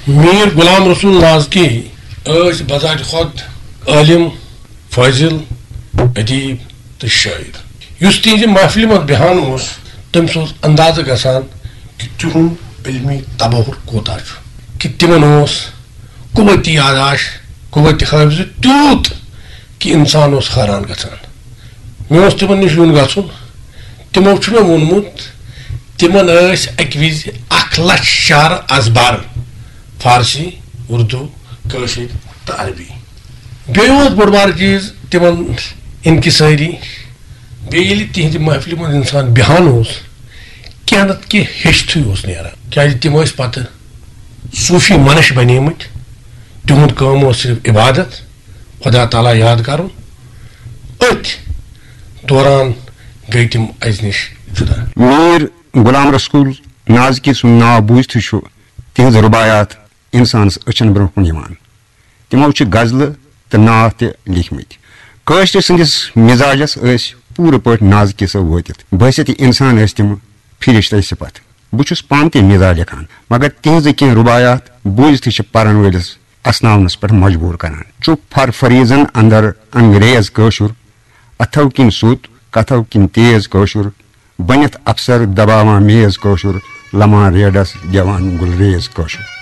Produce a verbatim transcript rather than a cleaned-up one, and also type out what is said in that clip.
میر غلام رسول نازکی ٲسۍ بذات خود عٲلِم، فٲضِل، ادیب تہٕ شٲعر۔ یُس تِہنٛزِ محفلہِ منٛز بیہان اوس، تٔمِس اوس اندازٕ گژھان کہِ تِہُنٛد علمی تبہر کوتاہ چھُ، کہِ تِمن اوس قوت یاداشت، قوت حافظ تیوٗت کہِ انسان اوس حٲران گژھان۔ مےٚ اوس تِمن نِش یُن گژھُن۔ تِمو چھُ مےٚ ووٚنمُت، تِمن ٲسۍ اَکہِ وِزِ اکھ لچھ شعر از بر، فارسی، اردو، کٲشِر تہٕ عربی۔ بیٚیہِ اوس بوٚڑ بار چیٖز تِمن انکسٲری۔ بیٚیہِ ییٚلہِ تِہنٛدِ محفلہِ منٛز انسان بیہان اوس، کینٛہہ نتہٕ کینٛہہ ہیٚچھتھٕے اوس نیران، کیازِ تِم ٲسۍ پتہٕ صوٗفی منش بنیمٕتۍ۔ تِہُنٛد کٲم اوس صرف عبادت، خدا تعالیٰ یاد کرُن۔ أتھۍ دوران گٔے تِم اَسہِ نِش جُدا۔ میر غلام رسول نازکی سُنٛد ناو بوٗزتھٕے چھُ تِہنٛز رُباعیات انسانس أچھن برونٛہہ کُن یِوان۔ تِمو چھِ غزلہٕ تہٕ نعت تہِ لیٖکھمٕتۍ۔ کٲشرِ سٕنٛدِس مزاجس ٲسۍ پوٗرٕ پٲٹھۍ نازکی صٲب وٲتِتھ۔ بحیثیت انسان ٲسۍ تِم فرشتے صفت۔ بہٕ چھُس پانہٕ تہِ مزاح لیکھان، مگر تِہنٛزٕ کینٛہہ رُباعیات بوٗزتھٕے چھِ پرن وٲلِس اسناونس پٮ۪ٹھ مجبوٗر کران۔ چُپ پھر فریضن اندر انگریز کٲشُر، اتھو کِنۍ سوٚت، کتھو کِنۍ تیز کٲشُر، بٔنِتھ افسر دباوان میز کٲشُر، لمان ریڈس گٮ۪وان گُلریز کٲشُر۔